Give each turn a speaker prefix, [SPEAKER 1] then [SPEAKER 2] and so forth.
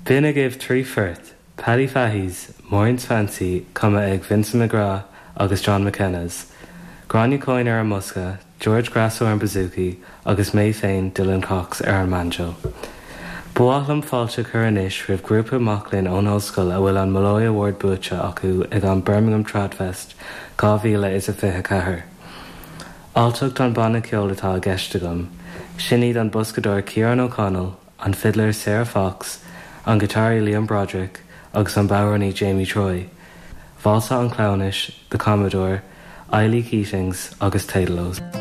[SPEAKER 1] B'in agaibh 3 phort, Paddy Fahy's Maureen's Fancy cumtha ag Vincent McGrath agus John McKenna's, Gráinne Coyne ar an mbosca, George Grasso ar an bouzouki agus mé féin, Dylan Cox, ar an mbanjo. Ba mhaith liom fáilte a chur anois roimh ghrúpa mac léinn ón ollscoil a bhfuil an Molloy Award buaite acu ag an Birmingham Tradfest 2024. Alltacht an banna ceoil atá i gceist agam. Sin iad an boscadóir Ciarán O'Connell, an fidléir Sarah Fox, an giotáraí Liam Broderick agus an bodhránaí Jamie Troy, Válsa an Chleamhnais, The Commodore, Eilí Keatings agus Taedalós.